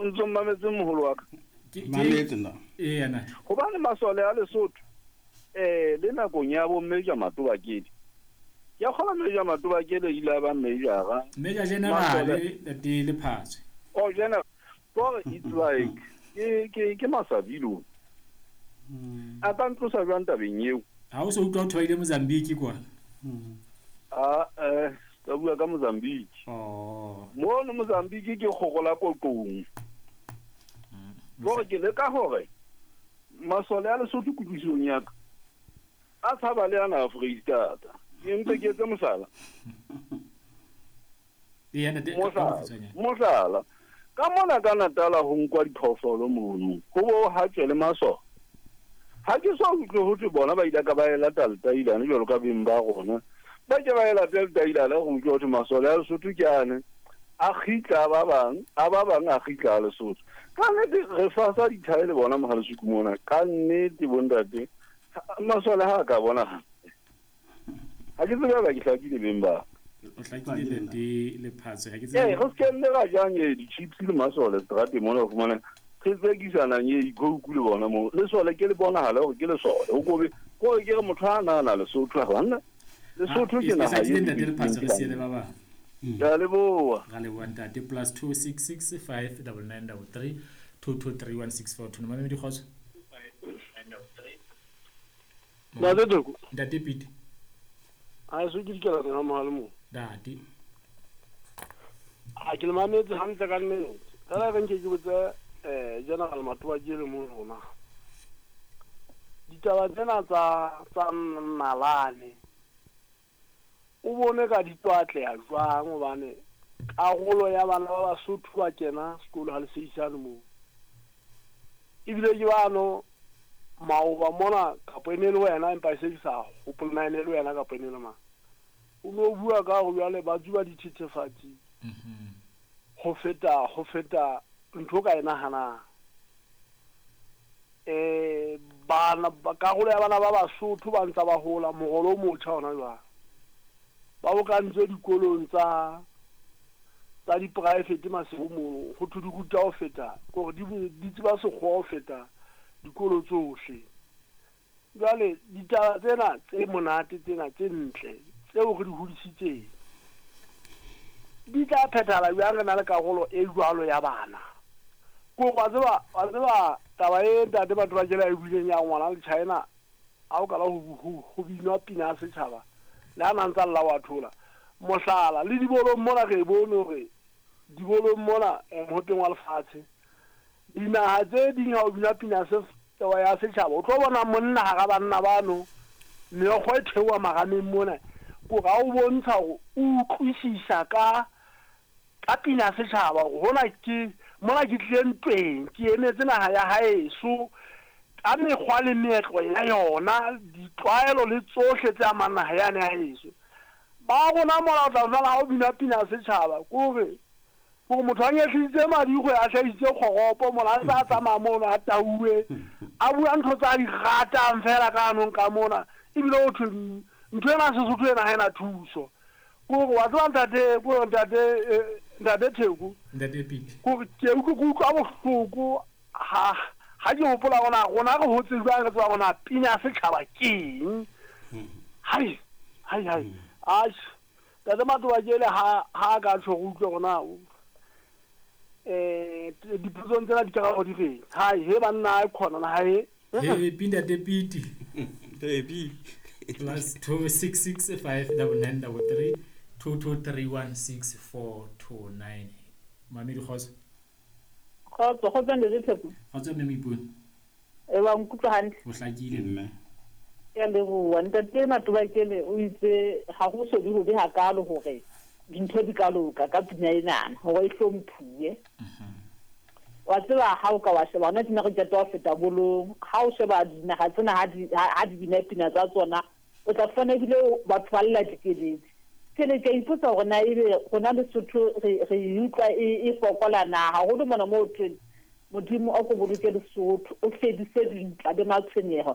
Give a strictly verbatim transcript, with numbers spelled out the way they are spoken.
Ntso mmametse, moholo wa ka? Mametse nna. Ee, na. Hobane masole a Lesotho, eh le nakong ya bo Major Matobakele, ke a kgola Major Matobakele ile a ba majora. Major General, Ntate Lephatswe. Oh, general. Kore it's like ke ke ke masabilo a ka ntlosa jwang tabeng eo? Ha o so utlwa ho thwaile Mozambique kwa? A eh ka bua ka Mozambique. Oh. Mono Mozambique ke kgogola koqong. Kore ke leka hore masole a Lesotho, kutlwisong ya ka, a tshaba le ana a Freistata. Ke mpe ke etse mohlala. Ee, ntate, ka Mohlala, bokgutshwanyane. mohlala, ka mona ka Natala ho nkwa diphoofolo mono, ho bo hatswe le masole. Ha ke so utlwe ho thwe bona ba ile ka ba e lata letailane jwalo ka beng ba rona. Ba ke ba e late letailane, go utlwe ho thwe masole a Lesotho ke ane a kgitla a ba bang, a ba bang a kgitla a Lesotho. Ka nnete re fasa dithae le bona Mohalesuku mona. Ka nnete, bontate, masole ha a ka bona hantle. Ha ke tsebe ba ke hlakile, beng ba. O hlakile, Ntate Lephatswe, ha ke Ee, tsebe. Re se nne ra jang e di-chips le masole seterateng mona, o fumane re tsekisanang e di-Coke le bona moo. Lesole ke le bonahale hore ke lesole. O kobe kore ke re motho a nahana Lesotho a banna. Lesotho ke E naha hlakile, e Ntate Lephatswe, re siele ba bang. Ke a leboha. Ra leboha, ntate. Plus two six six five double nine double three two two three one six four two. Mamedi, kgotso. Ntate Toko. Ntate Pete. A so ke dikela ga mogale mo. Ntate. A ke le mametse hantle ka nnete. Fela re nke ke botse eh General Matoba ke le mo rona. Ditaba tsena tsa tsa nalane, o bone ka di tlo atleha jwang? Hobane karolo ya bana ba Basotho ba kena sekolo ha le seisane moo, ebile ke bano maoba mona, kapo e ne le wena, empa e se ke sa hopole na e ne le wena kapo e ne le mang, o no bua ka hore jwale ba tsuba dithethefatsi ho feta ho feta ntho o ka e nahanang. eh bana ba- karolo ya bana ba Basotho ba ntsa ba hola morolo o motjha hona jwale, ba bokantswe dikolong tsa tsa di-private Maseru moo, ho thwe di ruta ho feta kore di di tseba sekgowa ho feta dikolo tsohle. Jwale ditaba tsena tse monate, tsena tse ntle tseo re di hodisitseng, di tla phethahala jwang re na le karolo e jwalo ya bana? Ko wa tseba wa tseba taba e ntate batho ba kela e buileng ya ngwana le China, ha o kala ho ho ho binwa pina ya setjhaba, le ha na ntsa lla wa thola. Mohlala, le dibolong mona, re bone hore dibolong mona, eh, mohopeng wa lefatshe, dinaha tse ding, ha o bina pina se ya setjhaba, o tlo bona monna hara banna bano, meokgo e theoha marameng mona, kore ha o bontsha hore o utlwisisa ka ka pina ya setjhaba, hore hona ke mona ke tlile ntweng, ke emetse naha ya haeso ka mekgwa le meetlo ya yona, ditlwaelo le tsohle tse amang naha yane ya heso. Ba rona mola o tla fumana ha o bina pina ya setjhaba, kore hore motho a nyehlisitse madikgwe, a hlahisitse kgoropo mola, a ntse a tsamaya mono, a tauwe, a bua ntho tsa di ratang fela ka hanong ka mona, ebile ho thwe ntho ena Sesotho ena ha ena thuso. Kore wa tseba, ntate, kore ntate eh, ntate Theko. Ntate Pete. Kore ke utlwe ke utlwa bohloko ha ha ke hopola rona rona re hotse jwang, re tseba rona pina ya setjhaba ke eng. Hai hai hai, atjhe, ntate Matoba, ke ele ha ha ka tjho re utlwe rona eh dipotsong tsena dikarabo di reng. Hai he banna, e khona na hae. Happy, Ntate Pete. Happy. Plus two six six five double nine double three two two three one six four two nine. Mamedi, kgotso. Kgotso, kgotso, Ntate Theko. Kgotso, mme Moipone. E wa nkutlwa hantle? O hlakile, mme. Ke a leboha. Ntate Matobakele o itse ha ho so di hobe hakalo hore dintho di ka loka ka pina enana, hore e hlomphuwe. Wa tseba, ha o ka wa sheba hona tjena, re qeta ho feta bolong, ha o sheba dinaha tsena ha di ha di bina pina tsa tsona, o tla fumana ebile batho ba lla dikeledi. Ke ne ke ipotsa hore na ebe rona Lesotho re re e utlwa e e fokola na, haholo mona moo thweng Modimo a ko boloke Lesotho, o fedise dintwa le matshwenyeho.